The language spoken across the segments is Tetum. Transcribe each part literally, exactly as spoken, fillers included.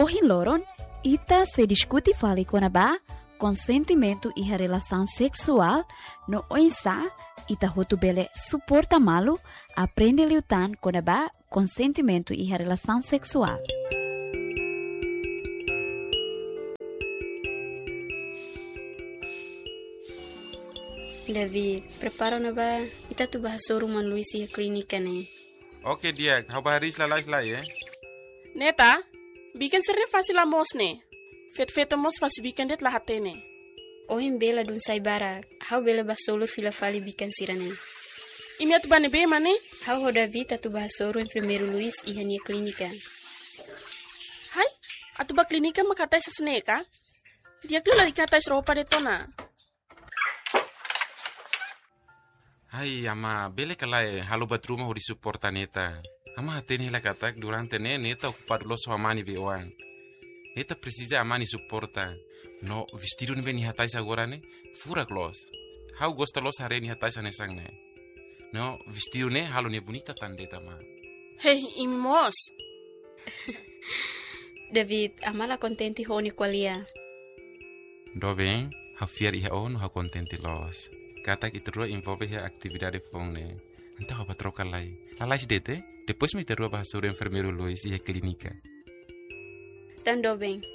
Ohin loron, ita sei diskute fali kona-ba konsentimentu iha relasaun seksuál, no oinsá ita hotu bele suporta malu, aprende liután kona-ba konsentimentu iha relasaun seksuál. David, prepara ona ba, ita atu ba hasoru maun Luis iha klínika ne'e. Oke, di'ak, ha'u ba hariis lalais lai, eh? Neta, bikan sira-ne'e fase la moos ne'e. Feto-feto mós fase bikan de'it la hatene. Ohin bee ladún sai barak, ha'u bele ba solur fila fali bikan sira-ne'e. Imi atu ba ne'ebé mak ne'e? Ha'u ho David atu ba hasoru enfermeiru Luis iha nia klínika. Hai, atu ba klínika mak hatais hanesan ne'e ka? Di'ak liu lalika hatais roupa de'it ona. Hai, amá, bele ka lae, halo buat ruma hodi suporta Neta. Amá hatene hela katak durante ne'e Neta okupadu loos ho amá nia bei-oan. Neta presiza amá nia suporta. No vestidu ne'ebé nia hatais agora ne'e, furak loos. Ha'u gosta loos haree nia hatais hanesan ne'e. No vestidu ne'e halo nia bonita tan de'it, amá. Hei, imi mós. David, amá la kontente ho ó-nia ko'alia. Doben, ha'u fiar iha ó no ha'u kontente loos katak ita rua envolve iha atividade foun ne'e. Entaun ha'u ba troka lai. Lalais de'it, eh? Depois mak ita rua ba hasoru enfermeiru Luis iha klínika. Tan doben,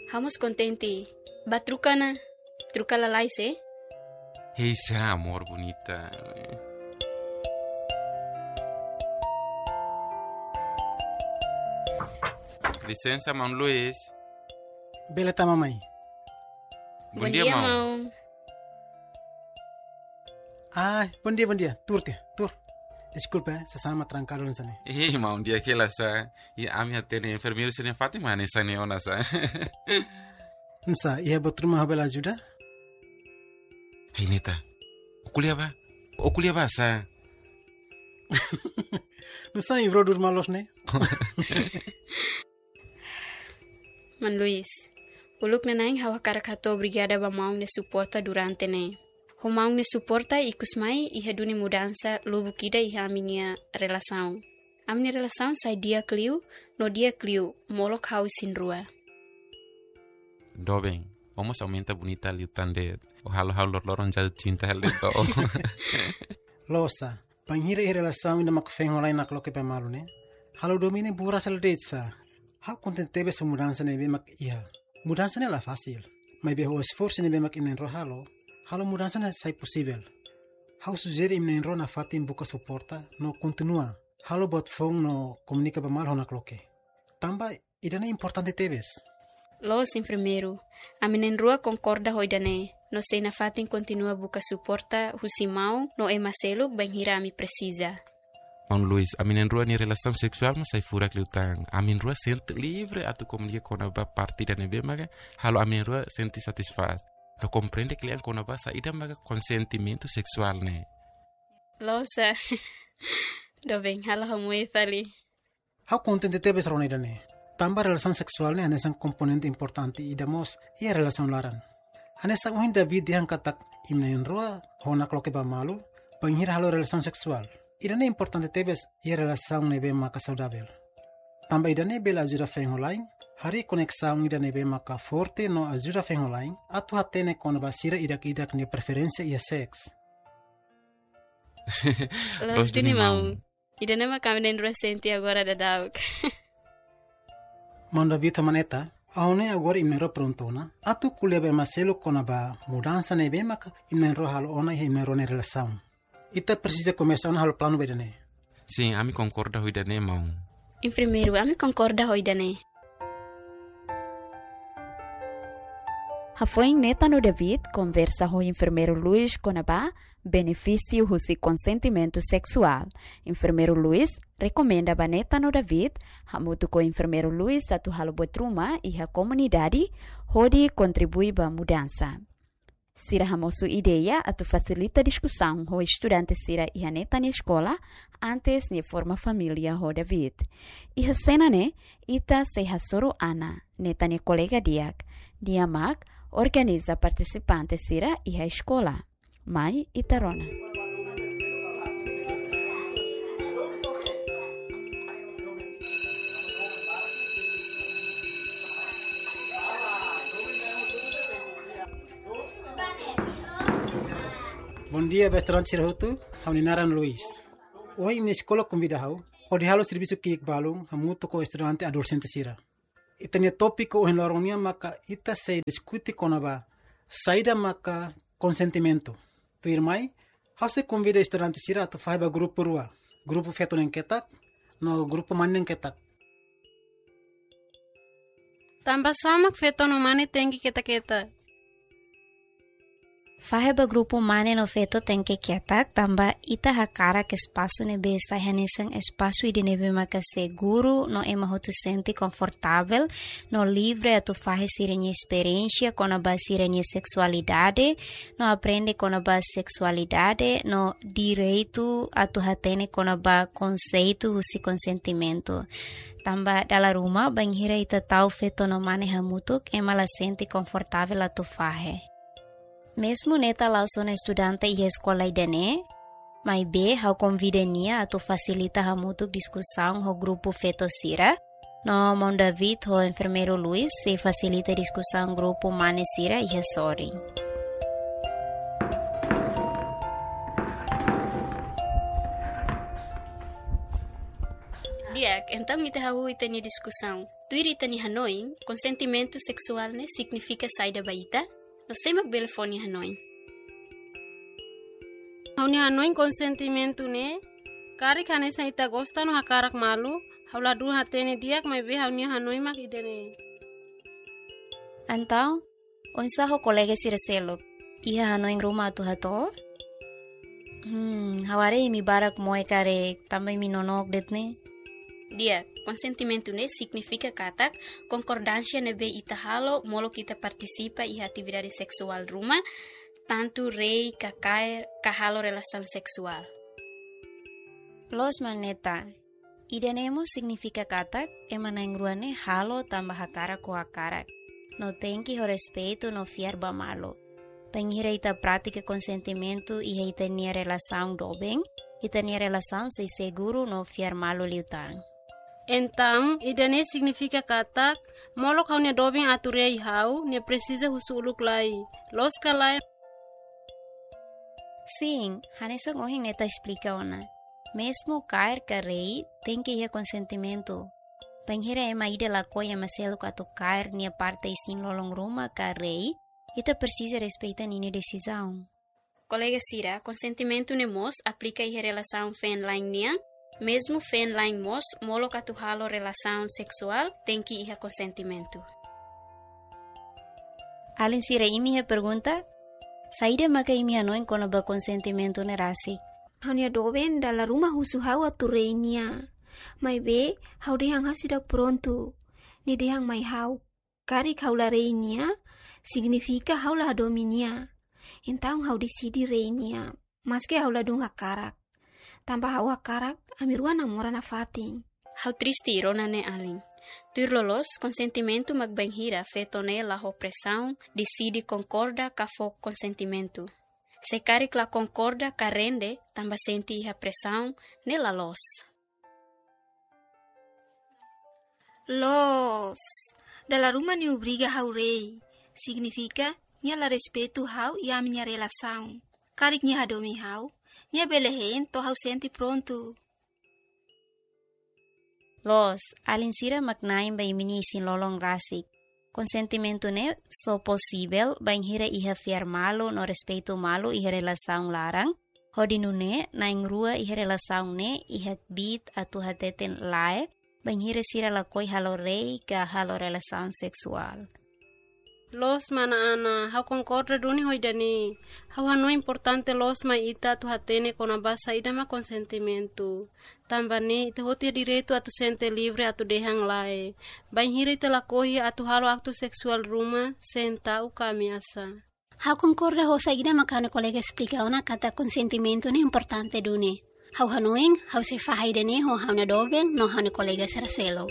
ha'u mós kontente. Ba troka ona. Troka lalais, eh? Hei, sa amor bonita. Lisensa, maun Luis. Bele tama mai. Bondia, maun. Ah, bondia, bondia. Tuur tiha, tuur. Deskulpa, eh, sasán mak trankadu hanesan ne'e. Eh, maun, di'ak hela sa. I ami hatene enfermeiru sira-nia fatin mak hanesan ne'e ona sa. Nusá, iha buat ruma ha'u bele ajuda? Hei, Neta. Ó ko'alia ba. Ó ko'alia ba sa. Nusá, imi brodúr malu loos ne'e. Maun Luis, uluk nanain ha'u hakarak hato'o obrigada ba maun nia suporta durante ne'e. Ho maun nia suporta ikus mai iha duni mudansa lubuk ida iha ami-nia relasaun. Ami-nia relasaun sai di'ak liu, no di'ak liu, molok ha'u isin-rua. Doben, ó mós aumenta bonita liután de'it. Ó halo ha'u loroloron jatuh cinta hela de'it ba ó. Loos sa, bainhira iha relasaun ida mak feen ho la'en nakloke ba malu ne'e, halo domina buras hela de'it sa. Ha'u kontente tebes ho mudansa ne'ebé mak iha. Mudansa ne'e la fasil. Maibé ho esforsu ne'ebé mak imi na'in-rua halo, halo mudansa ne'e sai posivel. Ha'u sujere imi na'in-rua nafatin buka suporta no kontinua halo buat foun no komunika ba malu ho nakloke. Tanba ida-ne'e importante tebes. Loos, enfermeiru. Ami na'in-rua konkorda ho ida-ne'e. No sei nafatin kontinua buka suporta husi maun no ema seluk bainhira ami presiza. Maun Luis, ami na'in-rua nia relasaun seksuál mós sai furak liután. Ami na'in-rua sente livre atu komunika kona-ba parte ida ne'ebé maka halo ami na'in-rua sente satisfás. No komprende kle'an kona-ba saida maka konsentimentu seksuál ne'e. Loos sa. Doben, halo ha'u moe fali. Ha'u kontente tebes rona ida-ne'e. Tanba relasaun seksuál ne'e hanesan komponente importante ida mós iha relasaun laran. Hanesan ohin David dehan katak imi na'in-rua ho nakloke ba malu, bainhira halo relasaun seksuál. Ida-ne'e importante tebes iha relasaun ne'ebé maka saudavel. Tanba ida-ne'e bele ajuda feen ho la'en harii koneksaun ida ne'ebé maka forte no ajuda feen ho la'en atu hatene kona-ba sira ida-idak nia preferénsia iha seks. Loos duni, maun. Ida-ne'e mak ami na'in-rua sente agora daudaun. Maun David ho maun Neta, ha'u hanoin agora imi na'in-rua prontu ona atu ko'alia ba ema seluk kona-ba mudansa ne'ebé maka imi na'in-rua halo ona iha imi na'in-rua nia relasaun. Ita presiza komesa ona halo planu ba ida-ne'e. Sin, ami konkorda ho ida-ne'e, maun. Enfermeiru, ami konkorda ho ida-ne'e. Hafoin Neta no David konversa ho enfermeiru Luis kona-ba benefísiu husi konsentimentu seksuál. Enfermeiru Luis rekomenda ba Neta no David, hamutuk ho enfermeiru Luis atu halo buat ruma iha komunidade, hodi kontribui ba mudansa. Sira hamosu ideia atu fasilita diskusaun ho estudante sira iha Neta nia eskola, antes nia forma família ho David. Iha sena ne'e, ita sei hasoru Ana, Neta nia kolega di'ak, nia mak organiza partisipante sira iha eskola. Mai ita rona. Bondia ba estudante sira hotu, ha'u-nia naran Luis. Ohin imi-nia eskola konvida ha'u hodi halo servisu ki'ik balun hamutuk ho estudante adolexente sira. Ita-nia tópiku ohin loron nian maka ita sei diskute kona-ba saida maka konsentimentu. Tuirmai, ha'u sei konvida estudante sira atu fahe ba grupu rua, grupu feto na'in ketak no grupu mane na'in ketak. Tanba sá mak feto no mane tenke ketak-ketak? Fahe ba grupu mane no feto tenke ketak, tanba ita hakarak espasu ne'ebé sai hanesan espasu ida ne'ebé maka seguru no ema hotu sente konfortavel no livre atu fahe sira-nia esperiénsia kona-ba sira-nia seksualidade, no aprende kona-ba seksualidade, no direitu atu hatene kona-ba konseitu husi konsentimentu. Tanba dala ruma, bainhira ita tau feto no mane hamutuk, ema la sente konfortavel atu fahe. Mezmu Neta la'ós ona estudante iha eskola ida-ne'e, maibé ha'u konvida nia atu fasilita hamutuk diskusaun ho grupu feto sira, no Maun David ho enfermeiru Luis sei fasilita diskusaun grupu mane sira iha sorin. Di'ak, entaun ita hahú ita-nia diskusaun. Tuir ita-nia hanoin, konsentimentu seksuál ne'e signifika saida ba ita? No sé mak bele fó nia hanoin? Ha'u-nia hanoin konsentimentu ne'e, karik hanesan ita gosta no hakarak malu, ha'u ladún hatene di'ak maibé ha'u-nia hanoin mak ida-ne'e. Entaun, oinsá ho kolega sira seluk? Iha hanoin ruma atu hato'o? Hmm, ha'u haree imi barak moe karik, tanba imi nonook de'it ne'e. Di'ak, konsentimentu ne'e signifika katak konkordánsia ne'ebé ita halo molok ita partisipa iha atividade seksuál ruma, tantu rei ka kaer ka halo relasaun seksuál. Loos, Maun Neta. Ida-ne'e mós signifika katak ema na'in-rua ne'e halo tanba hakarak ho hakarak, no tenke ho respeitu no fiar ba malu. Bainhira ita pratika konsentimentu iha ita-nia relasaun doben, ita-nia relasaun sei seguru no fiar malu liután. Entaun, ida-ne'e signifika katak, molok ha'u-nia doben atu rei ha'u, nia presiza husu uluk lai. Loos ka lae? Sin, hanesan ohin Neta esplika ona. Mezmu kaer ka rei, tenke iha konsentimentu. Bainhira ema ida lakohi ema seluk atu kaer nia parte isin-lolon ruma ka rei, ita presiza respeita ninia desizaun. Kolega sira, konsentimentu ne'e mós aplika iha relasaun feen-la'en nian, mezmu feen-la'en mós molok atu halo relasaun seksuál tenke iha konsentimentu. Alin sira, imi iha pergunta? Saida maka imi hanoin kona-ba konsentimentu ne'e rasik? Ha'u-nia doben dala ruma husu ha'u atu rei nia. Maibé, ha'u dehan ha'u seidauk prontu. Nia dehan mai ha'u, karik ha'u la rei nia, signifika ha'u la hadomi nia. Entaun ha'u deside rei nia, maske ha'u ladún hakarak. Tanba ha'u hakarak, ami rua namora nafatin. Ha'u triste rona ne'e alin. Tuir loloos, konsentimentu mak bainhira feto ne'e la ho presaun, deside konkorda ka fó konsentimentu. Se karik la konkorda ka rende, tanba sente iha presaun, ne'e la loos. Loos, dala ruma nia obriga ha'u rei. Signifika, nia la respeitu ha'u i ami-nia relasaun. Karik nia hadomi ha'u, nia bele hein to'o ha'u sente prontu. Loos, alin sira mak na'in ba imi-nia isin-lolon rasik. Konsentimentu ne'e só posivel bainhira iha fiar malu no respeitu malu iha relasaun laran, hodi nune'e na'in-rua iha relasaun ne'e iha kbiit atu hateten lae, bainhira sira lakohi halo rei ka halo relasaun seksuál. Loos mana Ana, ha'u konkorda duni ho ida-ne'e. Ha'u hanoin importante loos mai ita atu hatene kona-ba saida mak konsentimentu. Tanba ne'e, ita hotu iha direitu atu sente livre atu dehan lae. Bainhira ita lakohi atu halo aktu seksuál ruma, senta u kami asa. Ha'u konkorda ho saida mak ha'u-nia kolega esplika ona katak konsentimentu ne'e importante duni. Ha'u hanoin, ha'u sei fahe ida-ne'e ho ha'u-nia doben, no ha'u-nia kolega sira seluk.